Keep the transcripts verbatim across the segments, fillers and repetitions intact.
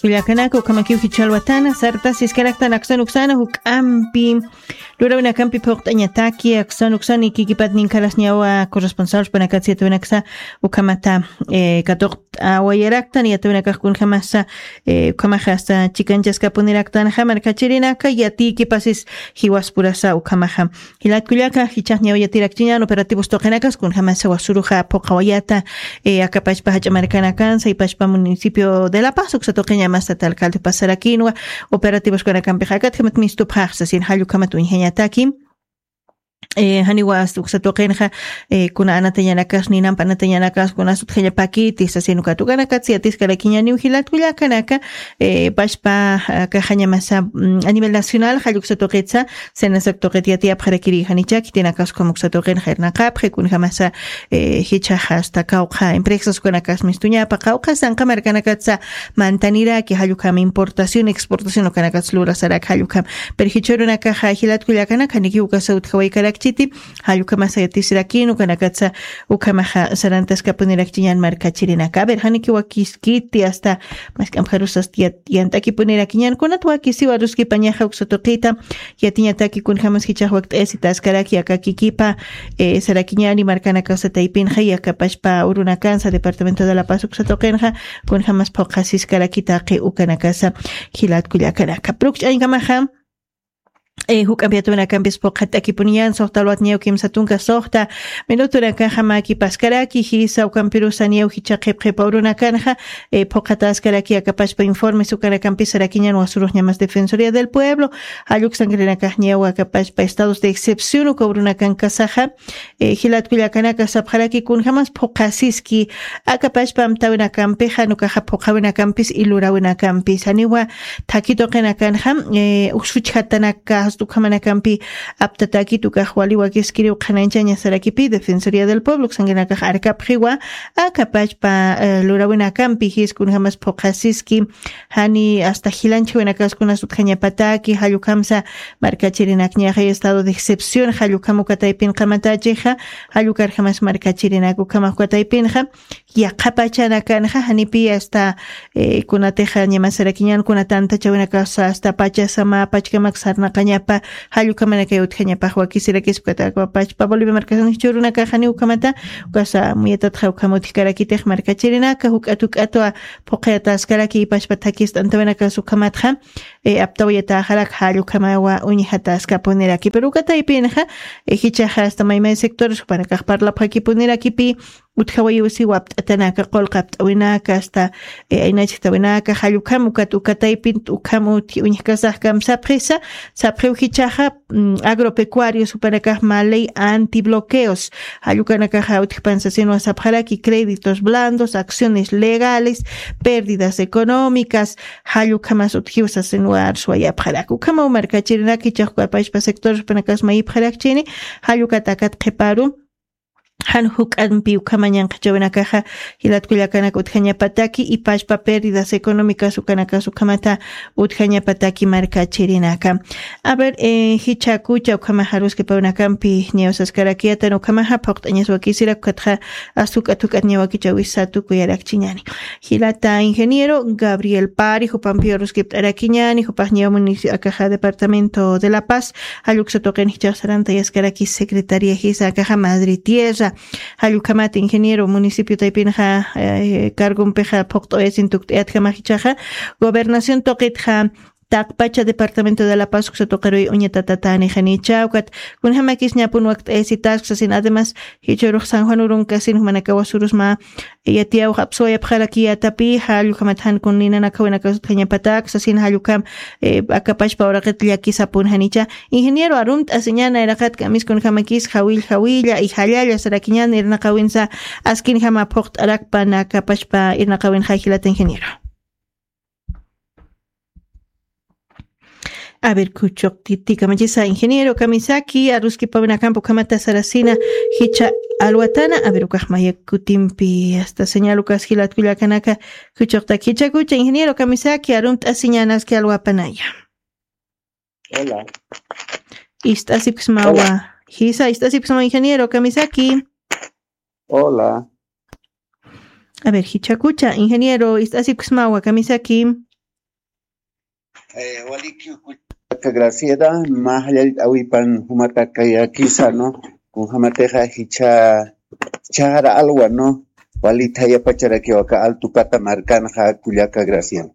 Kullakanaka ukhamakiw jichhalwatana sartasiskaraktan aksan uksana juk'ampi lurawinakampi phuqt'añataki aksan uksan ikikipat ninkarasñawa corresponsal panakatsi yatawinaksa ukhamata eh, katuqt'awayaraktan yatawinakax kunjamasa eh, ukhamaxa asta chikanchaskapuniraktanxa markachirinaka yatikipasis jiwaspurasa ukhamaxa. Jilatkullaka jichhax ñawiyatirakchiñan operativos tuqinakas kunjamasa wasuruxa phuqawayata eh, akapachpa jach'a markanakansa ipachpa municipio de la paz uksa tuqiñamasa talcalde pasarakinwa operativos kunakampix akatjamat mistupxaxsa sin jallukhamat uñjañataki. Eh, janiwa asta uksa tuqinxa eh, kuna anatañanakas ninampa anatañanakas kuna sutjañapakiti sasin ukat ukanakatsi yatiskarakiñaniw jilatkullakanaka eh, pachpa ah, kaxañamasa mm, a nivel nacional jalluksa tuqitsa senasak tuqit yatiyapxarakiri janichaki tinakas ukham uksa tuqin jayrnaqapxi kunjamasa eh, jichhaxa asta kawqha empresas ukanakas mistuñapa qawqha sanqa markanakatsa mantaniraki jallukham importación exportación ukanakatsa lurasarak jallukham. Pero jichhurunakaxa jilatkullakanaka janiki ukasa utjawaykarakchiti jallukhama sayatisirakini ukanakatsa ukhamaxa sarantaskapunirakchiñan markachirinaka a ver janiki wakiskiti asta mask'amjarusas yant'akipunirakiñan kunat wakisiwa ruskipañaxa uksa tuqita yatiñataki kunjamas jichhax wakt'ayasitaskaraki akakikipa eh, sarakiñani markanakasa taypinxa yakapachpa urunakansa departamento de la paz uksa tuqinxa kunjamas phuqasiskarakitaqi ukanakasa jilatkullakanaka prukch'añkamaxa eh, juk'ampi yatawinakampis phuqhat'akipuniyan suxta alwatñaw kimsa tunka suxta minutunakaxa makipaskaraki jisa ukampirusaniyaw jichha qhipqhipa urunakanxa eh, phuqhataskaraki akapachpa informes ukanakampis sarakiñan wasurux ñamas defensoría del pueblo jalluk sangrinakaxñaw akapachpa estados de excepción uka urunakankasaxa eh, jilatkullakanaka sapxaraki kunjamas phuqasiski akapachpa amtawinakampixa nukaxa phuqawinakampis ilurawinakampis janiwa thaki tuqinakanxa eh, usuchjatanaka hasta ukhamanakampi aptatakit ukax wali wakiskiriw qhanañchaña sarakipi defensoría del pueblo uksankinakax arkapxiwa akapachpa eh, lurawinakampi jis kunjamas phuqasiski jani asta jilanchjawinakas kunas utjañapataki jallukhamsa markachirinakñaxa estado de excepción jallukham uka taypin qamatachixa jallukarjamas markachirinak ukhamax uka taypinxa yaqha pachanakanxa janipi asta eh, kunatixa ñamasarakiñan kuna tantachawinakasa asta pachasama pachkamak sarnaqañapa jallukhamanakay utjañapax wakisirakispa ukatakapachpa bolivia markasanx churunakax jani ukhamata ukasa muyatatxa ukham utjkarakitix markachirinaka juk'at juk'atwa phuqhayataskaraki ipachpa thakist'antawinakas ukhamatxa eh, aptawayatäxarak jallukhamawa uñjataskapuniraki pero uka taypinxa eh, jichhaxa asta maymay sectores jupanakax parlapxakipunirakipi utjawayiwsi wapt'atanaka qulqa apt'awinaka asta eh, aynachjtawinaka jallukham ukat uka taypin ukham utji uñjkasax kamsapxisa sapxiw jichhaxa mm, agropecuarios jupanakax mä ley antibloqueos jallukanakaxa utjpan sasinwa sapxaraki créditos blandos acciones legales pérdidas económicas jallukhamas utjiw sasinwa arswayapxaraki ukhamaw markachirinak jichhax uka pachpa sectores jupanakas mayipxarakchini jallukatakat qhiparu jan juk'ampi ukhama ñanqhachawinakaxa jilatkullakanaka utjañapataki ipachpa pérdidas económicas ukanakas ukhamata utjañapataki markachirinaka a ver eh, jichhakucha ukhamaxa ruskipawinakampi ñawsaskarakiyatan ukhamaxa phuqt'añas wakisirak ukatxa asta juk'at juk'at ñawakichawisa tukuyarakchiñani jilata ingeniero gabriel pari jupampiwa ruskipt'arakiñani jupaxñawa municipio akaxa departamento de la paz jalluksa tuqin jichhax sarantayaskaraki secretaria jisa akaxa madre tierra jallukhamat ingeniero municipio taypinxa eh, cargompixa phuqt'awayasin tukt'ayatjamax jichhaxa gobernación tuqitxa taqpacha departamento de la paz uksa tuqiruy uñatatatani janicha ukat kunjamakis ñapun wakt'ayasitasku sasin además jichhurux san juan urunkasin jumanakawa surusma yatiyawxa apsuwayapxarakiyatapi jallukhamat jan kun ninanakawinakas utjañapatak sasin jallukham eh, akapachpa uraqit llakisapun janicha ingeniero arumt'asiñan nayraqat k'amis kunjamakis jawill jawilla y jallalla sarakiñan irnaqawinsa askinjama phuqt'arakpan akapachpa irnaqawinxa jilata ingeniero a ver kuchuqtiti kamachisa ingeniero kamisaki aruskipawinakampa ukhamata sarasina jichha alwatana a ver ukaxmaya kutimpi asta señal ukas jilatkullakanaka kuchuqtaki jichhakucha ingeniero kamisaki arumt'asiñanaski alwapanaya hola ist'asipksmawa jisa ist'asipksmawa ingeniero kamisaki hola a ver jichhakucha ingeniero ist'asipksmawa kamisaki Eh, waliki kullaka Graciela, majallal awipan jumatakayakisa, ¿no? Kunjamatixa jicha, jichara alwa, ¿no? Walitayapacharakiwaka Altu Pata markanxa kullaka Graciela.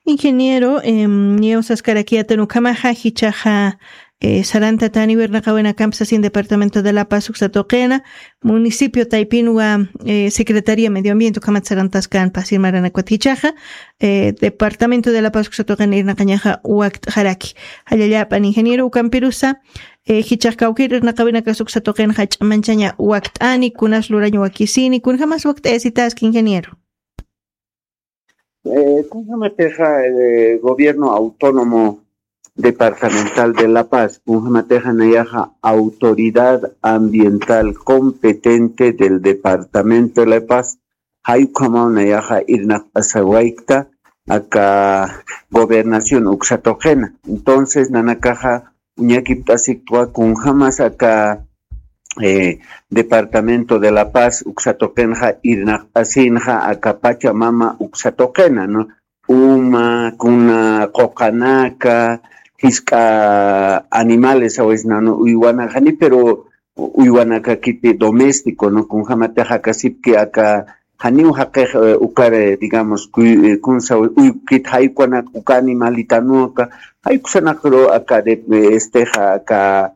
Ingeniero, em, niewsaskarakiyatan ukhamaxa jichaxa, eh, sarantatani wirnaqawinakamp sasin Departamento de La Paz uksatuqina, municipio taypinwa, eh, Secretaría Medio Ambiente ukhamat sarantaskan pasir maranakwat jichaxa, eh, Departamento de La Paz uksatuqina irnaqañaxa wakt'xaraki. Jallallapan ingeniero ukampirusa, eh, jichax kawkir irnaqawinakas uksatuqinxa ch'amanchaña wakt'ani, kunas lurañ wakisini, kunjamas wakt'ayasitaski ingeniero. Eh, kunjamatixa, eh, gobierno autónomo departamental de La Paz, kunjamatixa nayaxa autoridad ambiental competente del departamento de La Paz, jay ukhamaw nayaxa irnaqt'asawaykta aka gobernación uksatuqina. Entonces, nanakaxa uñakipt'asiktwa kunjamas aka, eh, departamento de La Paz uksatuqinxa irnaqt'asinxa aka Pachamama uksatuqina, ¿no? Uma, kuna, quqanaka, jisk'a animales, a veces nanu uywanakani, pero uywanakakiti doméstico, ¿no? Kunjamatixa kasipki aka janiw jaqix, eh, ukar, eh, digamos, kuy-, eh, kunsa uykit jaykunak uka animalitanuka, jaykusanakru aka de, eh, estexa, aka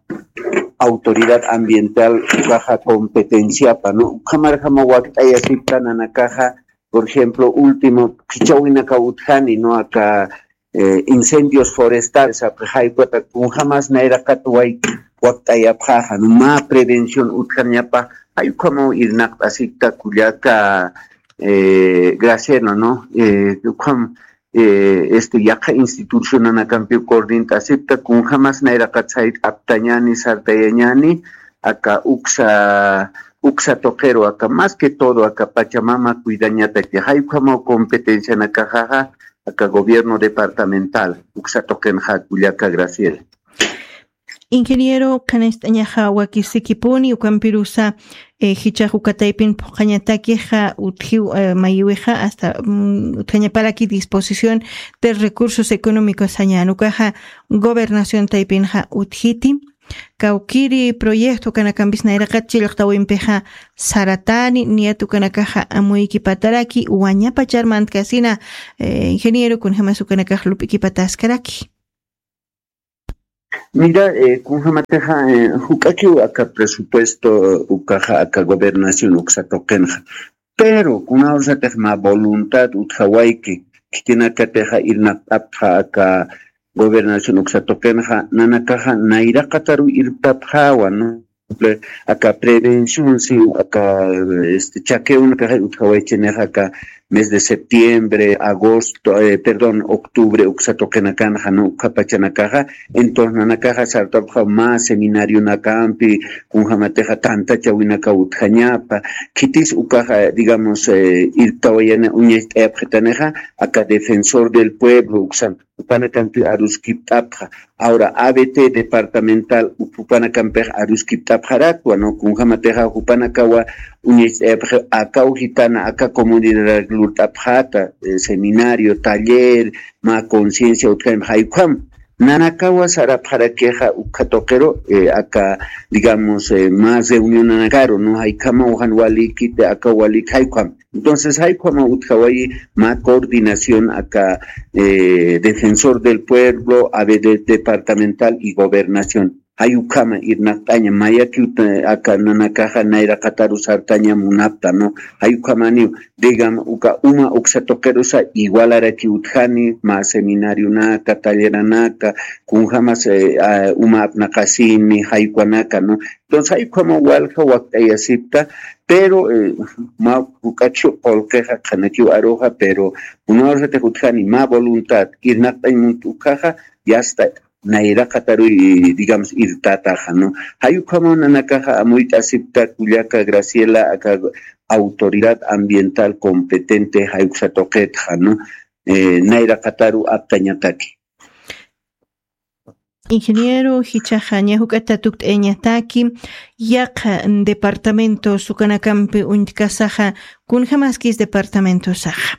autoridad ambiental ukaxa competenciapa, ¿no? Ukhamarjama wakt'ayasipta nanakaxa, por ejemplo, último, kichawinaka utjani, ¿no? Aka, eh, incendios forestales, aka jaykuta kunjamas nayraqat way wakt'ayapxaxa, ¿no? Mä prevención utjañapa, jay ukhamaw irnaqt'asikta kullaka, eh, Graciela, ¿no? Eh, ukham, eh, este, yaqha institucionanakampiw coordint'asipta, kunjamas nayraqat sayt'aptañani, sartayañani, aka uksa, uksatuqiru, aka más que todo, aka Pachamama cuidañataki, jay ukhamaw competencianakaxaxa, aka gobierno departamental, uksatuqinxa kullaka Graciela. Ingeniero, kanacht'añaxa wakisikipuni, ukampirusa, eh, jichax uka taypin phuqhañatakixa, utjiw, eh, mayiwixa, hasta, mm, utjañaparaki disposición de recursos económicos sañan, ukaxa gobernación taypinxa utjiti, kawkiri proyecto ukanakampis nayraqat chillqtawimpixa saratani, niyat ukanakaxa amuykipataraki, wañapachar mantkasina, eh, ingeniero, kunjamas ukanakax lup'ikipataskaraki. Mira, eh, kunjamatixa, eh, juk'akiw aka presupuesto, eh, ukaxa aka gobernación uksatuqinxa. Pero, kunawsatix mä voluntad utjawayki, khitinakatixa irnaqt'apxa aka gobernación uksatuqinxa, nanakaxa nayraqataru irptapxawa, ¿no? Aka prevención, sí, aka, este, chaqueonakaxa utjawaychinixa aka mes de septiembre, agosto, eh, perdón, octubre, uksatuqinakanxa, ¿no? Ukhapachanakaxa, entonces, nanakaxa sartapxa mä seminarionakampi, kunjamatixa tantachawinaka utjañapa, khitis ukaxa, digamos, eh, irptawayana uñacht'ayapxitanixa, aka defensor del pueblo, uksan, jupanakampi aruskipt'apxa. Ahora, A B T departamental, jupanakampix aruskipt'apxarakwa, ¿no? Kunjamatixa, jupanakawa uñacht'ayapxi, akaw jitana, aka comunidad lurt'apxata, eh, seminario, taller, mä conciencia utjañpa, jay ukham. Nanakawa sarapxarakixa ukhatuqiru, eh, aka, digamos, eh, mä reunionanakaru, ¿no? Jay ukhamaw jan walikiti, aka walik, jay ukham. Entonces, jay ukhamaw utjawayi mä coordinación aka, eh, defensor del pueblo, A B D departamental y gobernación. Jay ukhama irnaqt'aña, mayaki uta-, aka nanakaxa nayraqataru sartaña munapta, ¿no? Jay ukhamaniw, digamos, uka uma uksatuqirusa igualaraki utjani, mä seminarionaka, talleranaka, kunjamas, eh, ah, uma apnaqasini, jay ukanaka, ¿no? Entonces, jay ukhama walja wakt'ayasipta, pero, eh, mä juk'akiw qullqixa qhanakiw aruxa, pero kunawsatix utjani mä voluntad, irnaqt'añ munt ukhaxa, ya está, nayraqataruy, digamos, irtataxa, ¿no? Jay ukhamaw nanakaxa amuyt'asipta kullaka Graciela, aka autoridad ambiental competente jay uksatuqitxa, ¿no? Eh, nayraqataru aptañataki. Ingeniero, jichaxa ña juk'ata tukt'ayañataki, yaqha departamentos ukanakampi uñtkasaxa, kunjamaskis departamentosaxa.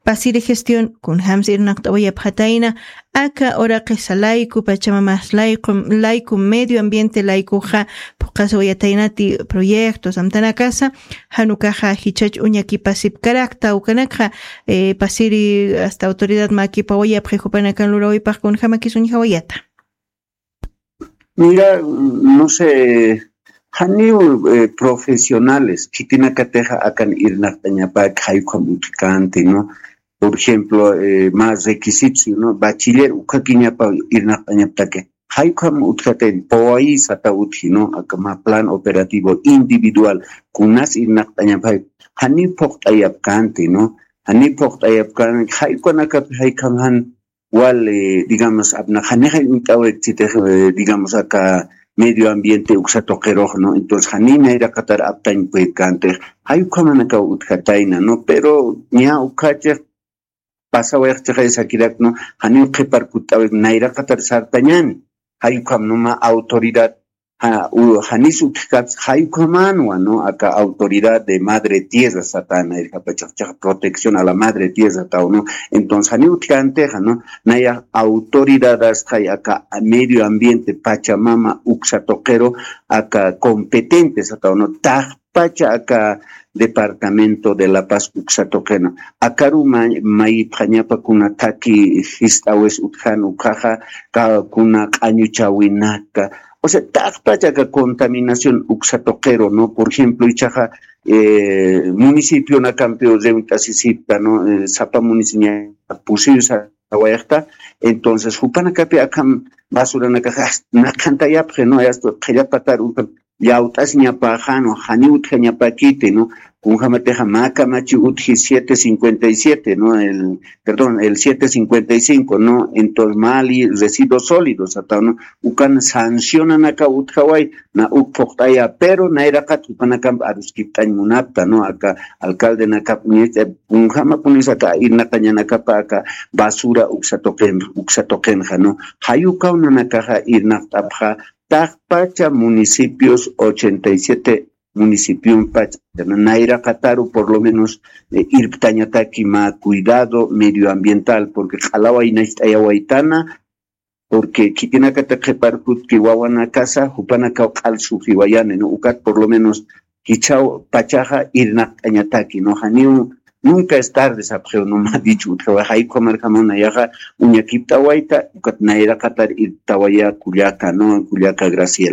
Pasiri gestión kunjams irnaqt'awayapxatayna aka uraqisa layku pachamamas layku layku medio ambiente laykuxa phuqaswayataynati proyectos amtanakasa. Janukaxa jichhach uñakipasipkarakta ukanakxa. Pasiri asta autoridad makipawayapxi jupanakan lurawaypax kunjamakis uñjawayata. Mira, no sé, janiw profesionales khitinakatixa akan irnaqt'añapäki jaykham utjkänti, ¿no? Por ejemplo, más requisitos, ¿no? Bachiller ukhakiñapa irnaqt'añaptaki jaykham utjatayn pawayisata utji, ¿no? Aka ma plan operativo individual kunas irnaqt'añapay janiw phuqt'ayapkänti, ¿no? Janiw phuqt'ayapkänti jaykhanakat jaykham jan wal, digamos, apnaq janixay uñt'awik chitix, digamos, aka medio ambiente uksa tuqirux, ¿no? Entonces janiy nayraqatar aptañ puedkantix jay ukhamanakaw utjatayna, ¿no? Pero ña ukhachix pasawayxchixay sakirak, ¿no? Janiw qhipar kutt'awik nayraqatar sartañani. Jay ukham numa autoridad janis utjkapsa jay ukhamanwa, ¿no? Aka autoridad de madre tierra satana irkapachaqchaqa protección a la madre tierra tawno. Entonces janiw utjkantixa, ¿no? Naya autoridad astxay aka medio ambiente pachamama uksa tuqiru aka competente satawno taqpacha aka departamento de la paz uksa tuqina akaru mayipxañapa kuna thaki jist'awis utjan ukhaxa kuna q'añuchawinaka. O sea, taqpacha aka contaminación uksa tuqiru, ¿no? Por ejemplo ichaxa municipionakampiw reunt'asisipta, ¿no? Sapa municipio pusiw sawayxta. Entonces jupanakapi akham basuranakaxa naqhantayapxi, ¿no? Asta qhillapatar ukan llawt'asiñapaxanu janiw utjañapakiti, ¿no? Kunjamatixa mä kamachi utji siete cincuenta y siete, ¿no? El perdón, el siete cincuenta y cinco, ¿no? Entonces mali residuos sólidos ata, ¿no? Ukan sancionanaka utjaway na uk phuqt'aya pero nayraqat jupanakamp aruskipt'añ munapta, ¿no? Aka alcaldenakap uñacht'ay kunjamapunis aka irnaqañanakapa aka basura uksa tuqin uksa tuqinxa, ¿no? Jay ukaw nanakaxa irnaqt'apxa taqpacha municipios ochenta y siete municipiompa nayraqataru por lo menos irptañataki mä cuidado medioambiental porque q'alaway nacht'ayawaytana. Porque khitinakata qhiparkutki wawanakasa jupanakaw q'al sufriwayani, ¿no? Ukat por lo menos jichhaw pachaxa irnaqt'añataki, ¿no? Janiw nunca es tarde sapxiw, ¿no? Mä dicho utjaway jay ukhamarjamaw nayaxa uñakipt'awayta ukat nayraqatar irptawaya kullaka, ¿no? Kullaka Graciela.